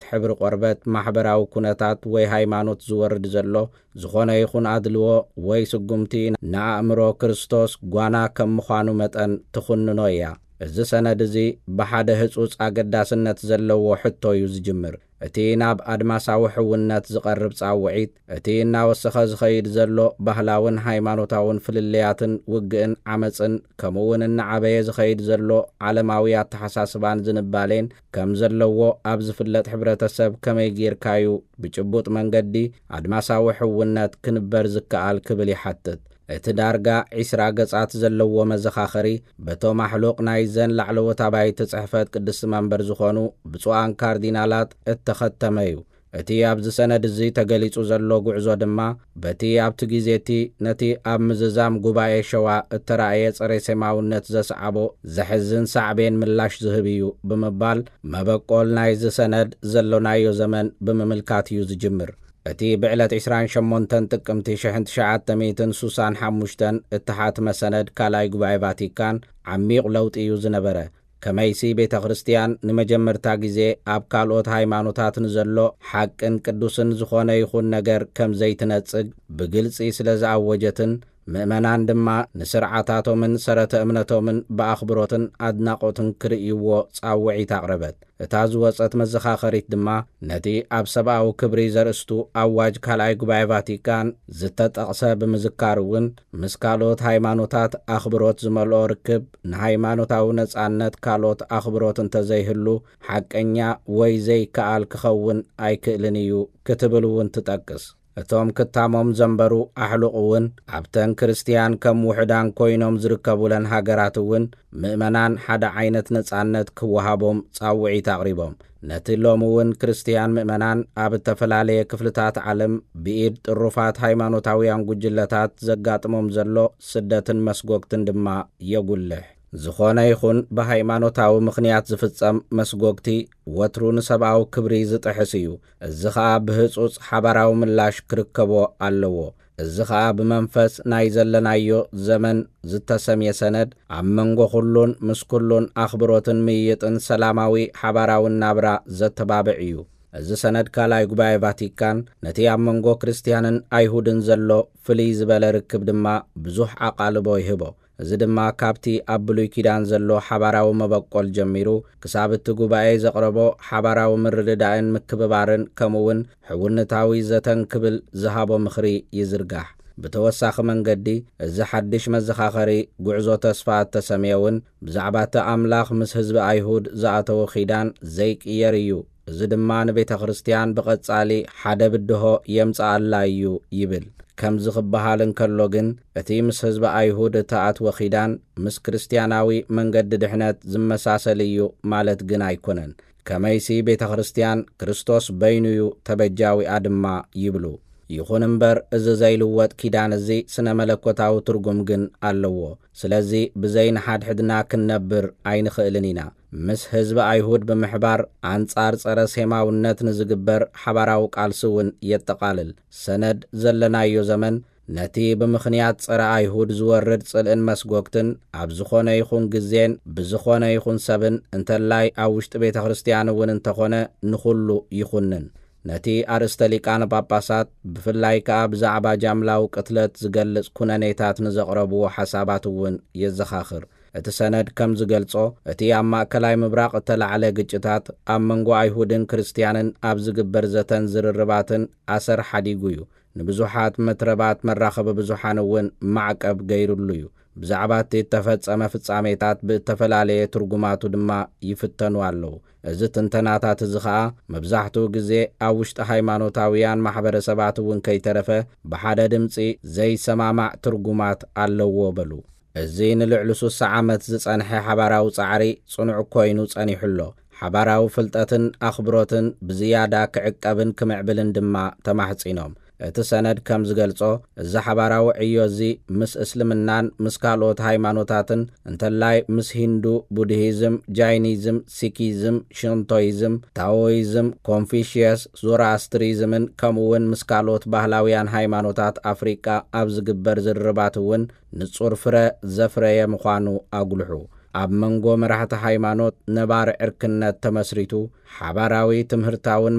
ሕብሪ ቆርበት፣ ማሕበራዊ ኩነታት ወይ ሃይማኖት ዝወርድ ዘሎ ዝኾነ ይኹን ኣድልዎ ወይ ስጉምቲ ንኣእምሮ ክርስቶስ ጓና ከም ምዃኑ መጠን ትኹንኖ እያ። እዚ ሰነድ እዚ ብሓደ ህጹጽ ኣገዳስነት ዘለዎ ሕቶ እዩ ዝጅምር። እቲ ናብ ኣድማሳዊ ሕውነት ዝቐርብ ጻውዒት፣ እቲ እናወሰኸ ዝኸይድ ዘሎ ባህላውን ሃይማኖታውን ፍልልያትን ውግእን ዓመጽን፣ ከምኡውን እናዓበየ ዝኸይድ ዘሎ ዓለማዊ ኣተሓሳስባን ዝንባሌን ከም ዘለዎ ኣብ ዝፍለጥ ሕብረተሰብ ከመይ ጌርካዩ ብጭቡጥ መንገዲ ኣድማሳዊ ሕውነት ክንበር ዝከኣል ክብል ይሓትት። እቲ ዳርጋ ዒስራ ገጻት ዘለዎ መዘኻኸሪ፣ በቶም ኣሕሉቕ ናይዘን ላዕለዎት ኣባይቲ ጽሕፈት ቅድስቲ መንበር ዝኾኑ ብፁዓን ካርዲናላት እተኸተመ እዩ። እቲ ኣብዚ ሰነድ እዚ ተገሊጹ ዘሎ ጉዕዞ ድማ፣ በቲ ኣብቲ ግዜ እቲ ነቲ ኣብ ምዝዛም ጉባኤ ሸዋ እተራእየ ጸረ ሴማውነት ዘስዓቦ ዘሕዝን ሳዕቤን ምላሽ ዝህብ እዩ ብምባል፣ መበቆል ናይዚ ሰነድ ዘሎናዮ ዘመን ብምምልካት እዩ ዝጅምር። እቲ ብዕለት ዕስራን ሸሞንተን ጥቅምቲ ሽሕን ትሽዓተ ሚእትን ሱሳን ሓሙሽተን እተሓትመ ሰነድ ካልኣይ ጉባኤ ቫቲካን ዓሚቕ ለውጢ እዩ ዝነበረ። ከመይሲ ቤተ ክርስቲያን ንመጀመርታ ግዜ ኣብ ካልኦት ሃይማኖታት ንዘሎ ሓቅን ቅዱስን ዝኾነ ይኹን ነገር ከም ዘይትነጽግ ብግልጺ ስለ ዝኣወጀትን፣ ምእመናን ድማ ንስርዓታቶምን ሰረተ እምነቶምን ብኣኽብሮትን ኣድናቖትን ክርእይዎ ጻውዒት ኣቕረበት። እታ ዝወጸት መዘኻኸሪት ድማ፣ ነቲ ኣብ ሰብኣዊ ክብሪ ዘርእስቱ ኣዋጅ ካልኣይ ጉባኤ ቫቲካን ዝተጠቕሰ ብምዝካር እውን፣ ምስ ካልኦት ሃይማኖታት ኣኽብሮት ዝመልኦ ርክብ ንሃይማኖታዊ ነጻነት ካልኦት ኣኽብሮት እንተዘይህሉ፣ ሓቀኛ ወይ ዘይከኣል ክኸውን ኣይክእልን እዩ ክትብል እውን ትጠቅስ። እቶም ክታሞም ዘንበሩ ኣሕሉቕ እውን፣ ኣብተን ክርስትያን ከም ውሑዳን ኮይኖም ዝርከቡለን ሃገራት እውን፣ ምእመናን ሓደ ዓይነት ነጻነት ክወሃቦም ጻውዒት ኣቕሪቦም። ነቲ ሎሚ እውን ክርስትያን ምእመናን ኣብ እተፈላለየ ክፍልታት ዓለም ብኢድ ጥሩፋት ሃይማኖታውያን ጉጅለታት ዘጋጥሞም ዘሎ ስደትን መስጎግትን ድማ የጉልሕ። ዝኾነ ይኹን ብሃይማኖታዊ ምኽንያት ዝፍጸም መስጎግቲ ወትሩ ንሰብኣዊ ክብሪ ዝጥሕስ እዩ። እዚ ኸኣ ብህጹጽ ሓባራዊ ምላሽ ክርከቦ ኣለዎ። እዚ ኸኣ ብመንፈስ ናይ ዘለናዮ ዘመን ዝተሰምየ ሰነድ፣ ኣብ መንጎ ኩሉን ምስ ኩሉን ኣኽብሮትን ምይይጥን ሰላማዊ ሓባራዊ ናብራ ዘተባብዕ እዩ። እዚ ሰነድ ካልኣይ ጉባኤ ቫቲካን፣ ነቲ ኣብ መንጎ ክርስትያንን ኣይሁድን ዘሎ ፍልይ ዝበለ ርክብ ድማ ብዙሕ ኣቓልቦ ይህቦ። እዚ ድማ ካብቲ ኣብ ብሉይ ኪዳን ዘሎ ሓባራዊ መበቆል ጀሚሩ፣ ክሳብ እቲ ጉባኤ ዘቕረቦ ሓባራዊ ምርድዳእን ምክብባርን፣ ከምኡውን ሕውነታዊ ዘተን ክብል ዝሃቦ ምኽሪ ይዝርጋሕ። ብተወሳኺ መንገዲ፣ እዚ ሓድሽ መዘኻኸሪ ጉዕዞ ተስፋ እተሰምየ እውን፣ ብዛዕባ እቲ ኣምላኽ ምስ ህዝቢ ኣይሁድ ዝኣተዎ ኪዳን ዘይቅየር እዩ። እዚ ድማ ንቤተ ክርስቲያን ብቐጻሊ ሓደ ብድሆ የምጽኣላ እዩ ይብል። ከምዚ ክበሃል እንከሎ ግን፣ እቲ ምስ ህዝቢ ኣይሁድ እተኣትወ ኪዳን ምስ ክርስትያናዊ መንገዲ ድሕነት ዝመሳሰል እዩ ማለት ግን ኣይኮነን። ከመይሲ ቤተ ክርስቲያን ክርስቶስ በይኑ እዩ ተበጃዊኣ ድማ ይብሉ። ይኹን እምበር፣ እዚ ዘይልወጥ ኪዳን እዚ ስነ መለኮታዊ ትርጉም ግን ኣለዎ። ስለዚ ብዘይ ንሓድሕድና ክንነብር ኣይንኽእልን ኢና። ምስ ህዝቢ ኣይሁድ ብምሕባር ኣንጻር ጸረ ሴማውነት ንዝግበር ሓባራዊ ቃልሲ እውን የጠቓልል። ሰነድ ዘለናዮ ዘመን ነቲ ብምኽንያት ጸረ ኣይሁድ ዝወርድ ጽልእን መስጎግትን ኣብ ዝኾነ ይኹን ግዜን ብዝኾነ ይኹን ሰብን፣ እንተላይ ኣብ ውሽጢ ቤተ ክርስቲያን እውን እንተኾነ፣ ንኹሉ ይኹንን። ነቲ ኣርእስተ ሊቃነ ጳጳሳት፣ ብፍላይ ከኣ ብዛዕባ ጃምላዊ ቅትለት ዝገልጽ ኩነኔታት ንዘቕረብዎ ሓሳባት እውን የዘኻኽር። እቲ ሰነድ ከም ዝገልጾ፣ እቲ ኣብ ማእከላይ ምብራቕ እተላዕለ ግጭታት ኣብ መንጎ ኣይሁድን ክርስትያንን ኣብ ዝግበር ዘተን ዝርርባትን ኣሰር ሓዲጉ እዩ። ንብዙሓት መትረባት መራኸቢ ብዙሓን እውን ማዕቀብ ገይሩሉ እዩ። ብዛዕባ እቲ እተፈጸመ ፍጻሜታት ብእተፈላለየ ትርጉማቱ ድማ ይፍተኑ ኣለዉ። እዚ ትንተናታት እዚ ኸኣ መብዛሕትኡ ግዜ ኣብ ውሽጢ ሃይማኖታውያን ማሕበረሰባት እውን ከይተረፈ ብሓደ ድምጺ ዘይሰማማዕ ትርጉማት ኣለዎ በሉ። እዚ ንልዕሊ ሱሳ ዓመት ዝጸንሐ ሓባራዊ ጻዕሪ ጽኑዕ ኮይኑ ጸኒሑ ኣሎ። ሓባራዊ ፍልጠትን ኣኽብሮትን ብዝያዳ ክዕቀብን ክምዕብልን ድማ ተማሕጺኖም። እቲ ሰነድ ከም ዝገልጾ፣ እዚ ሓባራዊ ዕዮ እዚ ምስ እስልምናን ምስ ካልኦት ሃይማኖታትን፣ እንተላይ ምስ ሂንዱ፣ ቡድሂዝም፣ ጃይኒዝም፣ ሲኪዝም፣ ሽንቶይዝም፣ ታዎይዝም፣ ኮንፊሽየስ፣ ዞራኣስትሪዝምን ከምኡውን ምስ ካልኦት ባህላውያን ሃይማኖታት ኣፍሪቃ ኣብ ዝግበር ዝርርባት እውን ንጹር ፍረ ዘፍረየ ምዃኑ ኣጉልሑ። ኣብ መንጎ መራሕቲ ሃይማኖት ነባሪ ዕርክነት ተመስሪቱ፣ ሓባራዊ ትምህርታውን